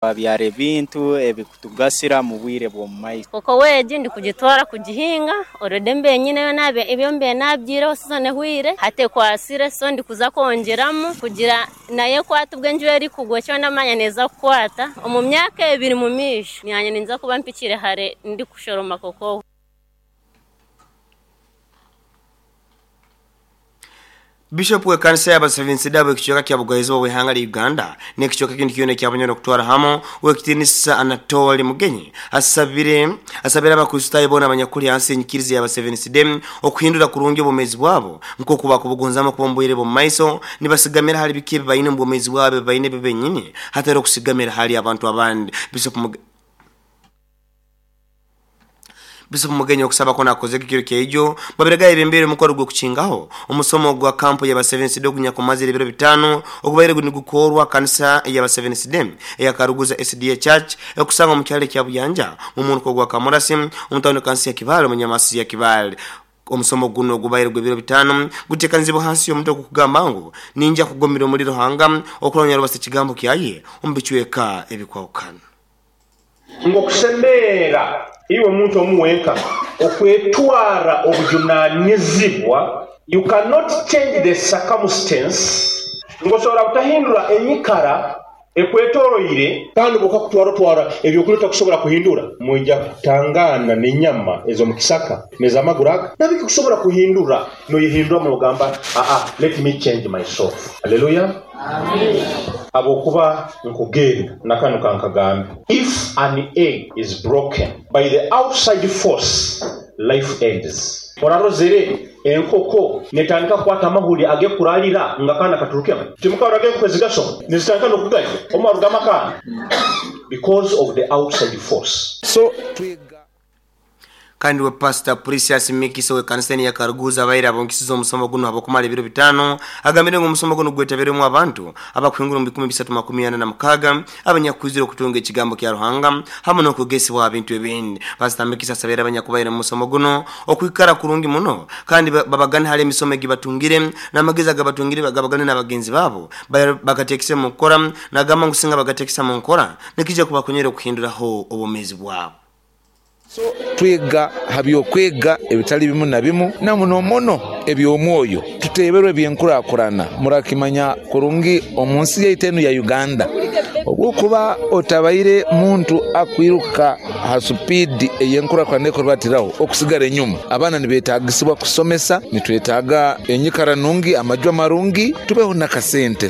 Twabyara ebintu ebikutugasira mu bwire bw'omu maiso. Kokowa egi ndikugitwara kugihinga already mbaire nyineyo ebyo mbaire nabyireho season ehwaire hati ekwasire so ndikuza kwongyeramu kugira nayo ekwate obwo enjura erikugwa ekyo ndamanya neeza kukwata omu myaka 2 mu maisho nanye ninza kuba mpikire hare ndikushoroma kokowa. Bishop w'ekanisa y'Abasevensi-Day ab'ekicweka kya Bugwaizoba bw'ihanga lya Uganda n'ekicweka ekindi kyona ekyabonyera okutwara hamu w'ekitiinisa Anatoli Mugenyi asabire Abakristaayo boona abanyakuli hansi y'enyikiriza y'Abasevensi-Day okuhindura kurungi obwomeezi bwabo nk'oku bakubugonzamu kuba omu bwire bw'omu maiso nibasigamira hali biki ebi baine omu bwomeezi bwabo ebi baine bo benyini hatari okusigamira hali abantu abandi. Bishop Mugenyi okusaba kwona akozege ekiro kyaijo babirega yebembeire omukoro gw'okukingaho omusomo gwa kampu y'Abasevensi-Day ogunyakumazire ebiro 5 ogubaire nigukorwa kanisa y'Abasevensi-Day eya Karuguza SDA Church ekusanga omu kyalo ekya Buyanja mu muruka gwa Kamurasi omu tawuni kansi ya Kibaale omu nyamasi ya Kibaale. Omusomo guno ogubaire gw'ebiro 5 guteekanizibwa hansi y'omutwe ogukugamba ngu ninja kugomera omuli Ruhanga okurwania rubasa ekigambo kyaye omu bicweka ebikwahukana. Ng'okusemeera iwe omuntu omu wenka okwetwara obujunanizibwa, you cannot change the circumstance, ng'osobola butahindura enyikara ekwetoroire. Kandi bw'okakutwara otwara ebyokulya otakusobola kuhindura, mwija kutangana n'enyama ez'omu kisaka n'ez'amaguru aga nabikusobola kuhindura, noyehinduramu n'ogamba aa let me change myself. Hallelujah. Habwokuba nkugenda nakanu kankagambe, if an egg is broken by the outside force, life ends. Orarozere enkoko netandika kukwata amahuri agekuralira nga akaana katurukemu? Timukaroraga enkoko ezigasoma nizitandika n'okugalya omu arugamu akaana because of the outside force. So twega. Kandi we Pastor Precious Mikisa w'ekanisa eni ya Karuguza abaire abonkisize omusomo guno habw'okumara ebiro 5 agambire ngu omusomo guno gwetabirwemu abantu abakuhingura omu 346 abanyakwizire okutunga ekigambo kya Ruhanga hamu n'okwegesibwa aha bintu ebindi. Pastor Mikisa asabire abanyakubaire mu musomo guno okwikara kurungi muno kandi babagane hali emisomo egi batungire n'amagezi agabatungire bagabagane n'abagenzi babo bagateekese mu nkora, nagamba ngu singa bagateekesa mu nkora nikija kubakonyera okuhinduraho obwomeezi bwabo. So twega ha by'okwega ebitali bimu na bimu, na muno muno eby'omwoyo. Tuteeberwe eby'enkurakurana. Murakimanya kurungi omu nsi yaitu enu ya Uganda, obwokuba otabaire muntu akwiruka ha supiidi ey'enkurakurana ekurubatiraho okusigara enyuma. Abaana nibetagisibwa kusomesa, nitwetaaga enyikara nungi, amaju amarungi, tubeho n'akasente.